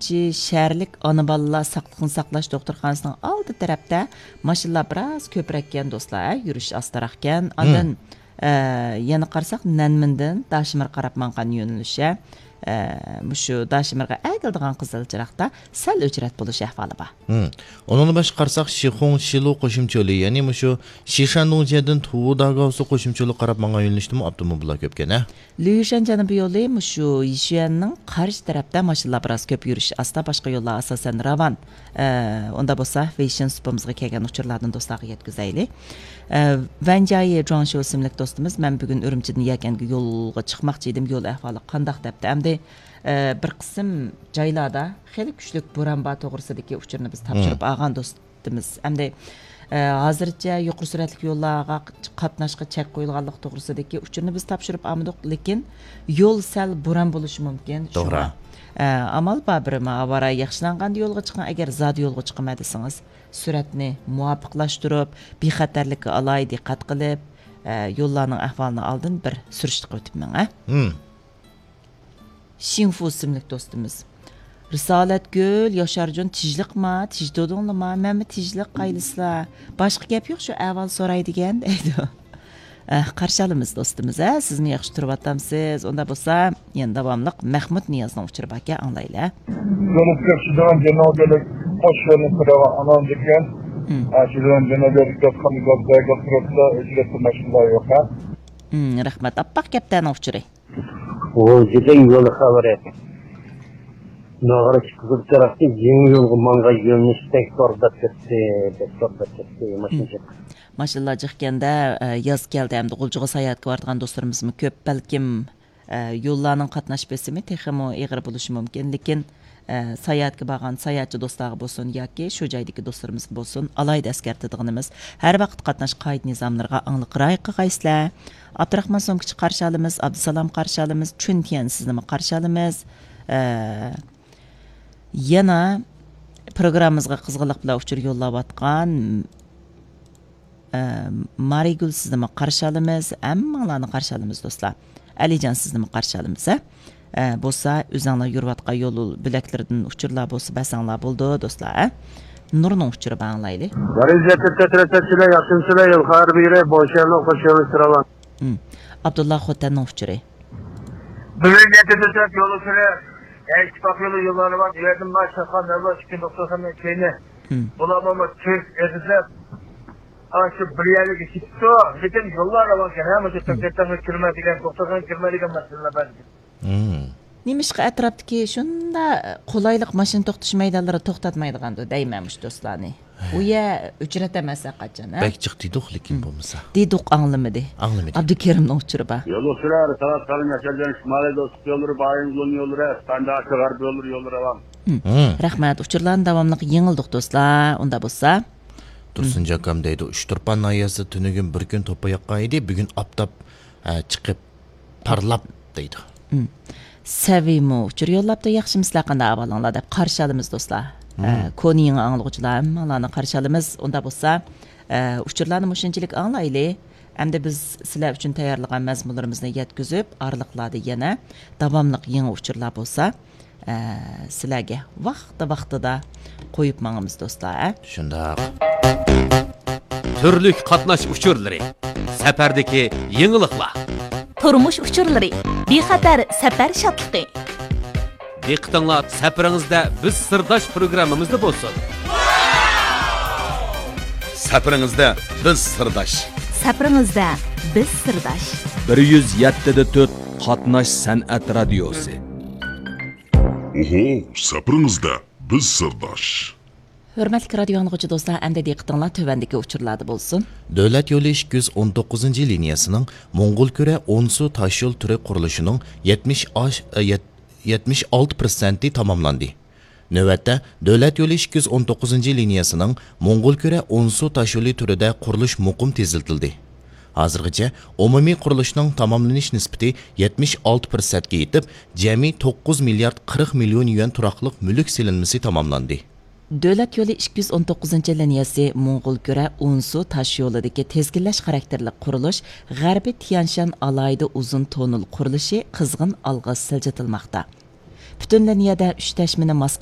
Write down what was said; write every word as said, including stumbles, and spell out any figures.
شەھەرلىك ئانا بالىلار ساقلىقنى ساقلاش دوختۇرخانىسىنىڭ ئالدى تەرەپتە ماشىنىلار بىراز كۆپرەككەن دوستلار، ھە، يۈرۈش ئاستىراقكەن. ئاندىن، ئە، يەنە قارىساق، نەنمىندىن داشىمىرغا قاراپ ماڭغان يۆنىلىش، ھە، ئە، مۇشۇ داشىمىرغا ئەگىلىدىغان قىزىل چىراغدا سەل ئۆچرەت بولۇش ئەھۋالى بار. ھىم. ئۇنىڭدىن باشقا قارىساق، شىخۇڭ، شىلۇ قوشۇمچە يولى، يەنى مۇشۇ شىشەندۇڭجيەدىن تۇۋۇداگاۋسۇ قوشۇمچە يولىغا قاراپ ماڭغان يۆنىلىشتىمۇ ئاپتوموبىللار كۆپكەن، ھە؟ لۈيۈشەن جەنۇبىي يولى مۇشۇ يىشۈەننىڭ قارشى تەرەپتە ماشىنىلار بىراز كۆپ، يۈرۈش ئاستا، باشقا يوللار ئاساسەن راۋان. ئە، ئۇندا بولسا، ۋېيشىن سۇپىمىزغا كەلگەن ئۇچۇرلاردىن دوستلارغا يەتكۈزەيلى. ئە، ۋەنجايى جۇاڭشيو ئىسىملىك دوستىمىز، مەن بۈگۈن ئۈرۈمچىدىن يەكەنگە يولغا چىقماقچى ئىدىم، يول ئەھۋالى قانداق دەپتۇ. ئەمدى، ئە، بىر قىسىم جايلاردا خېلى كۈچلۈك بوران بار توغرىسىدىكى ئۇچۇرنى بىز تاپشۇرۇپ ئالغان دوست. ئەمدى، ئە، ھازىرچە يۇقىرى سۈرئەتلىك يوللارغا قاتناشقا چەك قويۇلغانلىقى توغرىسىدىكى ئۇچۇرنى بىز تاپشۇرۇپ ئالمىدۇق، لېكىن يول سەل بوران بولۇشى مۇمكىن. توغرا. شۇڭا، ئە، ئامال بار بىر ئاۋارە ياخشىلانغاندا يولغا چىقىڭ، ئەگەر زادى يولغا چىقىمەن دېسىڭىز، سۈرئەتنى مۇۋاپىقلاشتۇرۇپ، بىخەتەرلىككە ئالاھىدە دىققەت قىلىپ، ئە، يوللارنىڭ ئەھۋالىنى ئالدىن بىر سۈرۈشتە قىلىۋېتىپ مېڭە. ھىم. شىڭفۇ ئىسىملىك دوستىمىز. رىسالەتگۈل، ياشارجان تىجلىقما، تىجدۇدۇڭلىما، مەنمۇ تىجلىق قايلىسىلا. باشقا گەپ يوق، شۇ ئەھۋال سوراي دېگەن، دەيدۇ. ئە، قارشى ئالىمىز دوستىمىز، ھە، سىزمۇ ياخشى تۇرۇۋاتامسىز؟ ئۇندا بولسا، يەنە داۋاملىق مەھمۇد نىيازنىڭ ئۇچۇرى باركەن، ئاڭلايلى. يولۇپ كۆرۈشىدىغان جەنۇبىيلىك قوش يولنى سوراۋا ئاناندىكەن. ھىم. ئە، شۇ جەنۇبىيلىك ياتقان گازدەگە تۇرۇپلا ئۆچرەتتە ماشىنىلار يوق، ھە؟ ھىم، رەھمەت. ئاپئاق كەپتەرنىڭ ئۇچۇرى. غۇلجىدىن يول خەۋىرى. ناغرا چىققۇزۇپ تەرەپتىن يېڭى يولغا ماڭغان يۆنىلىش بەك تور دەپ كەتتى، بەك تور دەپ كەتتى، ماشىنا جىق. ماشىنىلار جىقكەندە، ئە، ياز كەلدى ھەمدە غۇلجىغا ساياھەتكە بارىدىغان دوستلىرىمىزمۇ كۆپ. بەلكىم، ئە، يوللارنىڭ قاتناش بېسىمى تېخىمۇ ئېغىر بولۇشى مۇمكىن، لېكىن، ئە، ساياھەتكە بارغان ساياھەتچى دوستلارغا بولسۇن ياكى شۇ جايدىكى دوستلىرىمىزغا بولسۇن، ئالاھىدە ئەسكەرتىدىغىنىمىز، ھەر ۋاقىت قاتناش قائىدە نىزاملىرىغا ئاڭلىق رىئايە قىلغايسىلەر. ئابدۇراخمان سومكىچى قارشى ئالىمىز، ئابدۇسالام قارشى ئالىمىز، چۈن تيەن سىزنىمۇ قارشى ئالىمىز. ئە، يەنە پروگراممىمىزغا قىزغىنلىق بىلەن ئۇچۇر يوللاۋاتقان، ئە، مارىگۈل سىزنىمۇ قارشى ئالىمىز، ھەممىڭلارنى قارشى ئالىمىز دوستلار. ئەلىجان سىزنىمۇ قارشى ئالىمىز، ھە؟ ئە، بولسا ئۆزۈڭلار يۈرۈۋاتقان يول بۆلەكلىرىدىن ئۇچۇرلار بولسا بەرسەڭلار بولىدۇ دوستلار، ھە؟ نۇرنىڭ ئۇچۇرى بار ئاڭلايلى. بەرىزەتتە تەترەتەتچىلەر ياخشىمسىلەر يول خەۋەر بېرە بوشەللىق خوش يوللىشىراۋان. ھىم. ئابدۇللا خوتەننىڭ ئۇچۇرى. بۈگۈن يەتتە تۆت يول ئۇچۇرى، ئىتتىپاق يولى يوللىرى بار. بۇ يەردىن مانا شاخان دەرۋازا ئىككى دوختۇرخانا كەينى. ھىم. بۇلارمۇ تېز ئېغىزلاپ، ئاشۇ بىر يەرلىككە كېتىپتۇ. لېكىن يوللار راۋانكەن، ھە، مۇشۇ ھىم. تەڭگە كىرمە دېگەن، دوختۇرخانىغا كىرمە دېگەن مەسىلىلەر بار. ھىم. نېمىشقا ئەتراپتىكى شۇنداق قولايلىق ماشىنا توختىتىش مەيدانلىرى توختاتمايدىغاندۇ دەيمەن مۇشۇ دوستلارنى. ئۇ يەر ئۆچرەت ئەمەس ھەرقاچان، ھە؟ بەك جىق دېدۇق، لېكىن ھىم. بولمىسا. دېدۇق، ئاڭلىمىدى. ئاڭلىمىدى. ئابدۇكېرىمنىڭ ئۇچۇرى بار. يول ئۇچۇرى، سالام ياشايدىغان شىمالىي دوستلۇق يوللىرى، بايىنغولنىڭ يوللىرى، ئەسپەندى ئاكا غەربىي يوللىرى، يوللىرى ئاۋام. ھىم. ھىم. رەھمەت، ئۇچۇرلارنى داۋاملىق يېڭىلدۇق دوستلار. ئۇندا بولسا. تۇرسۇن جاكام دەيدۇ، ئۇچتۇرپان ناھىيەسىدە تۈنۈگۈن بىر كۈن توپا ياغقان ئىدى، بۈگۈن ئاپتاپ، ئە، چىقىپ پارلاپ دەيدۇ. ھىم. سەۋىمۇ ئۇچۇر يوللاپتۇ، ياخشىمۇسىلەر، قانداق ئەھۋالىڭلار دەپ قارشى ئالىمىز دوستلار. ھىم. ئە، كونا يېڭى ئاڭلىغۇچىلار ھەممىڭلارنى قارشى ئالىمىز. ئۇندا بولسا، ئە، ئۇچۇرلارنى مۇشۇنچىلىك ئاڭلايلى. ئەمدى بىز سىلەر ئۈچۈن تەييارلىغان مەزمۇنلىرىمىزنى يەتكۈزۈپ، ئارىلىقلاردا يەنە داۋاملىق يېڭى ئۇچۇرلار بولسا، ئە، سىلەرگە ۋاقتى ۋاقتىدا قويۇپ ماڭىمىز دوستلار، ئە. شۇنداق. تۈرلۈك قاتناش ئۇچۇرلىرى، سەپەردىكى يېڭىلىقلار. تۇرمۇش ئۇچۇرلىرى، بىخەتەر سەپەر شادلىقى. دىققىتىڭلار سەپىرىڭىزدە بىز سىرداش پروگراممىمىزدا بولسۇن. سەپىرىڭىزدە بىز سىرداش. سەپىرىڭىزدە بىز سىرداش. بىر يۈز يەتتە دە تۆت قاتناش سەنئەت رادىيوسى. ئوھو، سەپىرىڭىزدە بىز سىرداش. ھۆرمەتلىك رادىيو ئاڭلىغۇچى دوستلار، ئەمدى دىققىتىڭلار تۆۋەندىكى ئۇچۇرلاردا بولسۇن. دۆلەت يولى ئىككى يۈز ئون توققۇزىنچى لىنىيەسىنىڭ موڭغۇلكۈرە ئونسۇ تاشيول تۈرى قۇرۇلۇشىنىڭ يەتمىش ئاش-، ئە، يەت-، يەتمىش ئالتە پىرسەنتى تاماملاندى. نۆۋەتتە، دۆلەت يولى ئىككى يۈز ئون توققۇزىنچى لىنىيەسىنىڭ موڭغۇلكۈرە ئونسۇ تاشيولى تۈرىدە قۇرۇلۇش مۇقىم تېزلىتىلدى. ھازىرغىچە ئومۇمىي قۇرۇلۇشنىڭ تاماملىنىش نىسبىتى يەتمىش ئالتە پىرسەنتكە يېتىپ، جەمئىي توققۇز مىليارد قىرىق مىليون يۈەن تۇراقلىق مۈلۈك سېلىنمىسى تاماملاندى. دۆلەت يولى ئىككى يۈز ئون توققۇزىنچى لىنىيەسى موڭغۇلكۈرە ئونسۇ تاشيولىدىكى تىزگىنلەش خاراكتېرلىك قۇرۇلۇش، غەربىي تيەنشان ئالاھىدە ئۇزۇن توننېل قۇرۇلۇشى قىزغىن ئالغا سىلجىتىلماقتا. پۈتۈن لىنىيەدە ئۈچ تەشمىنى ماس